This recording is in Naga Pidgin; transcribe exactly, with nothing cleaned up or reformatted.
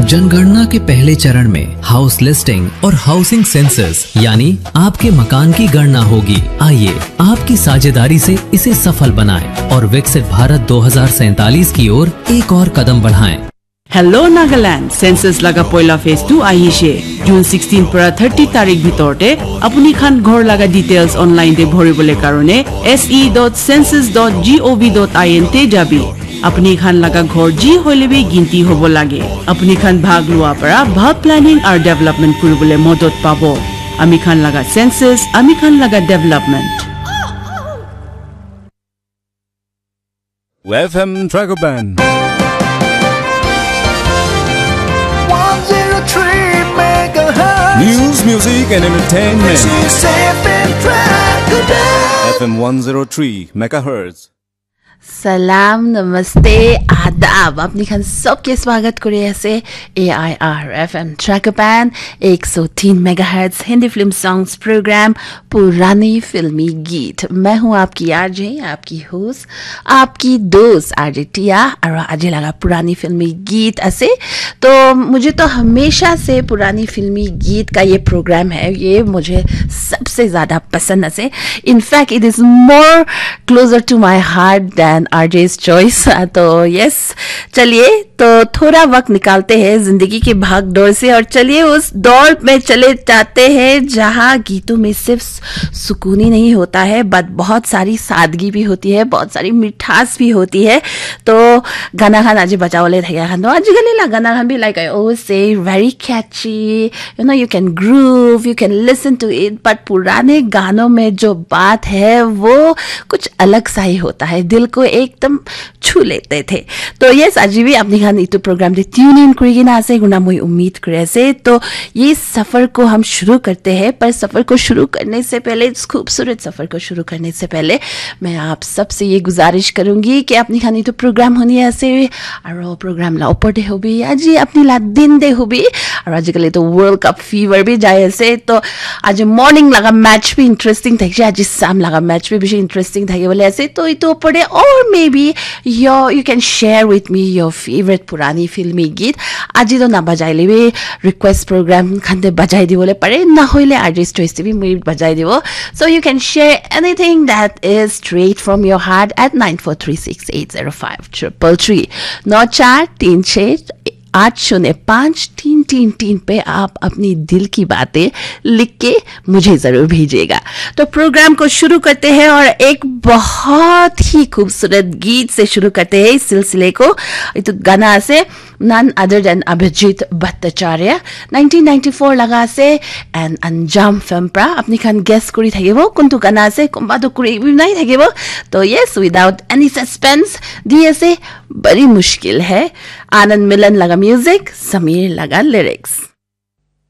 जनगणना के पहले चरण में हाउस लिस्टिंग और हाउसिंग सेंसस यानी आपके मकान की गणना होगी। आइए, आपकी साझेदारी से इसे सफल बनाएं और विकसित भारत दो हज़ार सैंतालीस की ओर एक और कदम बढ़ाएं। Hello Nagaland, census laga poila phase tu ahishe. June sixteen para thirty tarik bitor te apuni khan ghor laga details online te bhori bole karone S E dot census dot gov dot in te jabi. Apuni khan laga ghor ji hoile bi ginti hobo lage. Apuni khan bhag lua para bhal planning ar development kuri bole modot pabo. Ami khan laga census, ami khan laga development. F M Tragoban. one zero three megahertz. News, music, and entertainment. This is F M Tragoban. F M one zero three megahertz. Salam, namaste, adab. Apni khan sobke swagat kuri ase A I R F M Tragoban ek so teen megahertz Hindi film songs program Purani Filmi Geet. मैं हूं आपकी आरजे, आपकी होस्ट, आपकी दोस्त आरजे टिया. और आज लगा पुरानी फिल्मी गीत ऐसे. तो मुझे तो हमेशा से पुरानी फिल्मी गीत का ये प्रोग्राम है, ये मुझे सबसे ज्यादा पसंद है. In fact, it is more closer to my heart than R J's choice. तो यस, चलिए, तो थोड़ा वक्त निकालते हैं जिंदगी की भाग दौड़ से और चलिए उस दौड़ में चले जाते हैं जहां गीतों में सिर्फ सुकून ही नहीं होता है, बट बहुत सारी सादगी भी होती है, बहुत सारी मिठास भी होती है. तो गाना खान आज बजावले थैया खान तो आजकल ला गाना खान भी, like I always say, very catchy. You know, you can groove, you can listen to it, but पुराने गानों में जो बात है वो कुछ अलग सा ही होता है, दिल को एकदम छू लेते थे. तो यस, आज भी अपनी खान इतु प्रोग्राम दे ट्यून इन करेगी ना से गुना मुई उम्मीद करे से. तो ये सफर को हम शुरू करते हैं, पर सफर को शुरू करने से पहले, इस खूबसूरत सफर को शुरू करने से पहले मैं आप सबसे ये गुजारिश करूंगी कि अपनी खान इतु प्रोग्राम होनी ऐसे और प्रोग्राम ला ऊपर दे होबी, आज अपनी ला दिन दे होबी. और आजकल तो वर्ल्ड कप फीवर भी जाए से, तो आज मॉर्निंग लगा मैच भी इंटरेस्टिंग থাকে, आज शाम लगा मैच भी বেশি इंटरेस्टिंग থাকে बोले ऐसे. तो इतु ऊपर दे, और maybe your, you can share with me your favorite पुरानी फिल्मी गीत. আজি তো না বাজাইলে বি ৰিকুৱেষ্ট প্ৰগ্ৰাম খানতে বাজাই দিবলৈ পাৰে, না হইলে আৰ্টিষ্ট চইচ বি মই বাজাই দিব. So you can share anything that is straight from your heart at nine four three six eight zero five triple three. नौ चार तीन छः आठ शून्य पाँच तीन तीन तीन पे आप अपनी दिल की बातें लिख के मुझे जरूर भेजिएगा. तो प्रोग्राम को शुरू करते हैं और एक बहुत ही खूबसूरत गीत से शुरू करते हैं इस सिलसिले को. ये तो गाना से none other than Abhijit Bhattacharya, nineteen ninety four laga ase and Anjam film pra. Apni khan guess kuri thakibo kuntu gana ase, kumba to kuri bi nai thakibo. To yes, without any suspense, di ase Badi Mushkil Hai, Anand Milan laga music, Sameer laga lyrics.